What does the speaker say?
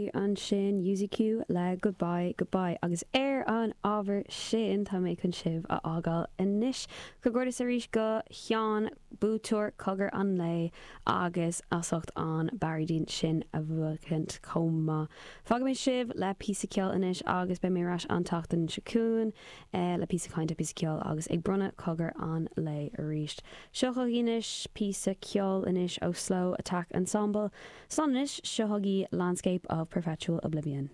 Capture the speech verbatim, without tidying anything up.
Perry ansin UZQ le goodbye goodbye agus ar an ábhar sin tá mé chun sibh a fhágáil anois Comhghairdeas arís go Sheán buaiteoir cogar an lae agus as ucht an Barry sin a bhuachaint chomh maith. Fágfaidh mé sibh le píosa ceoil anois agus beidh mé ar ais an tseachtain seo chugainn eh, le píosa cainte píosa ceoil agus ag bronnadh cogar an lae arís. Seo chugaibh píosa ceoil anois ó Slow Attack Ensemble, Slán anois seo chugaibh Landscape of Perpetual Oblivion.